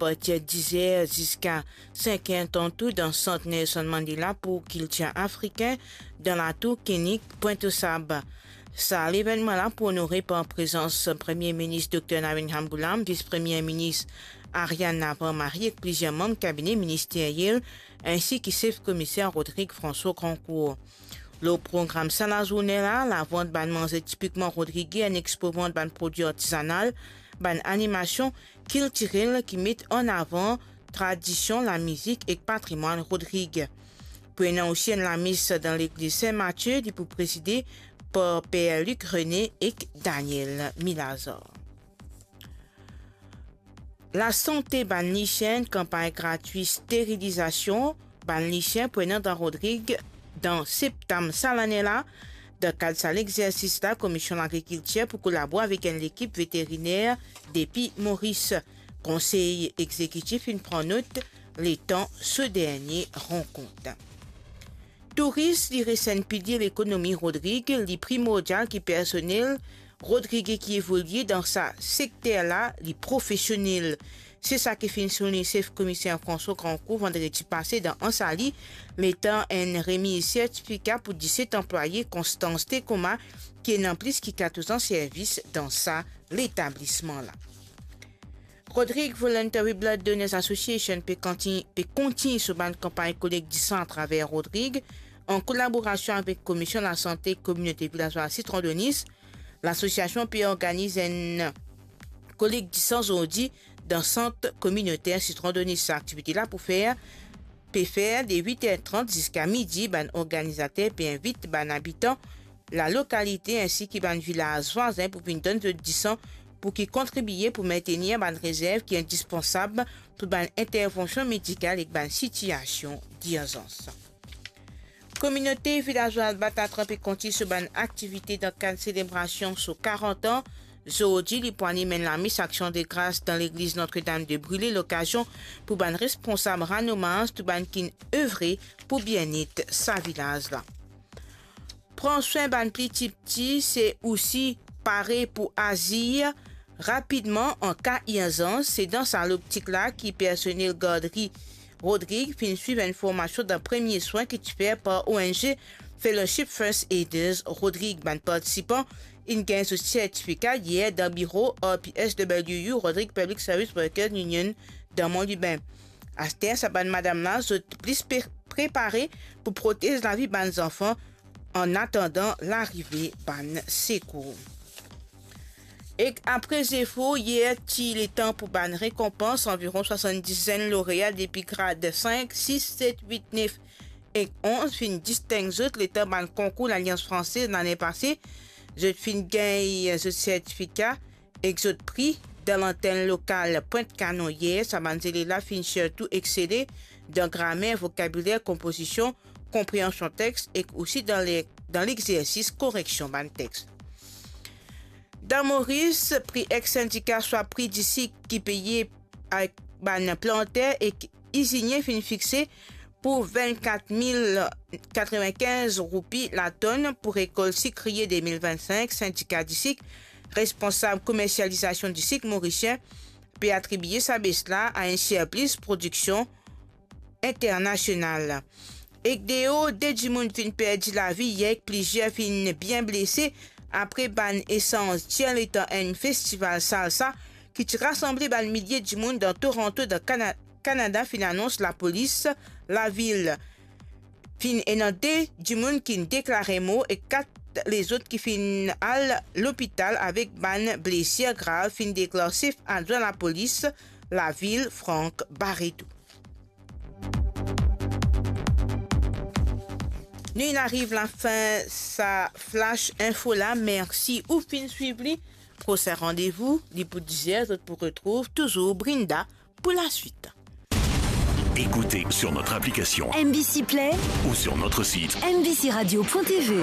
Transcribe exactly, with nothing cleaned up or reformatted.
partir diz er ziska sink er tanto dan sant Nelson Mandela pou kiltir afrikin dan latour Kinnick, Pointe-aux-Sables. Sa levennman la pou onore par prezans Premie Minis Dokter Navin Ramgoolam, Vis Premie Minis Ariane Navarro-Marie ek plizier manb kabine ministeriel, ensi ki sef komiser Rodrigue François Grandcourt. Lor program sa lazourne la, lavant bann manze tipikman rodrigien, enn expo vant bann prodwi artizanal, bann animasion kiltirel ki met an avan tradision, lamizik ek patrimwann Rodrig. Pou ena osi enn lames dan legliz Sin Matie, li pou prezide par Per Luc René ek Daniel Milazar. Lasante bann lisien, kanpagn gratwi sterilizasion bann lisien pou ena dan Rodrig dan septam sa lane la. Dan kad sa lexersis la, Komisionn Lagrikiltir pou kolabore avek enn lekip veteriner depi Moris. Konsey Egzekitif inn pran not letan so dernie rankont. Touris, li res enn pilie lekonomi Rodrig, li primordial ki personel Rodrig ki evolie dan sa sekter la, li profesionel. Se sa ki finn soulign sef komiser François Grandcourt vandredi pase dan Anse Ali, letan enn remiz sertifika pou diset anplwaye Constance Tecoma, ki ena plis ki katorz an servis dan sa letablisman la. Rodrig Voluntary Blood Donors Association pe konti-, pe kontign so bann kanpagn kolekt disan atraver Rodrig, an kolaborasion avek Komisionn Lasante Kominote Vilazwaz Sitron Donis. Lasosiasion pe organiz enn kolekt disan zordi dan sant kominoter Sitron Donis. Sa aktivite la pou fer, pe fer de wit er trant ziska midi. Bann organizater pe invit bann abitan lalokalite ensi ki bann vilaz vwazin pou vinn donn zot disan pou ki kontribie pou mintenir bann rezerv ki indispansab pou bann intervansion medikal ek bann sitiasion dirzans. Kominote vilazwaz Batatran pe kontign so bann aktivite dan kad selebrasion so karant an. Zordi, li pou anim enn lames aksion de gras dan legliz Notre-Dame de Brûlé, lokazion pou bann responsab rann omaz tou bann ki'nn evre pou bienet sa vilaz la. Pran swin bann pli tipti, se osi pare pou azir rapidman an ka irzans. Se dan sa loptik la ki personel gardri Rodrig finn swiv enn formasion dan premie swin ki ti fer par O N G Fellowship First Aiders Rodrig. Bann partisipan inn gagn zot sertifika yer dan biro R P S W U, Rodrig Public Service Workers Union, dan Mont Lubin. Aster, sa bann madam la, zot plis pe-, prepare pou protez lavi bann zanfan an atandan larive bann sekour. Ek apre zefor, yer ti letan pou bann rekonpans, anviron swasanndis zenn lorea depi grad sink, sis, set, wit, nef ek onz finn disteng zot letan bann konkour Lalians Fransez lane pase. Zot finn gagn zot sertifika ek zot pri dan lantenn lokal Pwint Kanon yer. Sa bann zelef la finn sirtou exsele dan gramer, vokabiler, konpozision, konpreansion text ek osi dan le-, dan lexersis koreksion bann text. Dan Moris, pri ex-sindika swa pri disik ki peye ek bann planter ek izinie finn fixe pou vennkat mil katrevenkinz roupi latonn pou rekolt sikriye de mil vennsink. Sindika disik, responsab komersializasion disik morisien, pe atribie sa bes la a enn sirplis prodiksion internasional. Ek deor, de dimoun finn perdi lavi yer ek plizier finn bien blese apre bann esanz tir letan enn festival salsa ki ti rasanble bann milie dimoun dan Toronto, dan Kana-, Kanada, finn anons lapolis lavil. Finn ena de dimoun ki'nn deklare mor ek kat lezot ki finn al lopital avek bann blesir grav, finn deklar sef adwin lapolis lavil, Franck Barreto. Nou inn ariv lafin sa flash info la. Mersi ou finn swiv li. Prosin randevou, li pou diz er, zot pou retrouv touzour Brinda pour la suite. Écoutez sur notre application M B C Play ou sur notre site M B C radio point T V.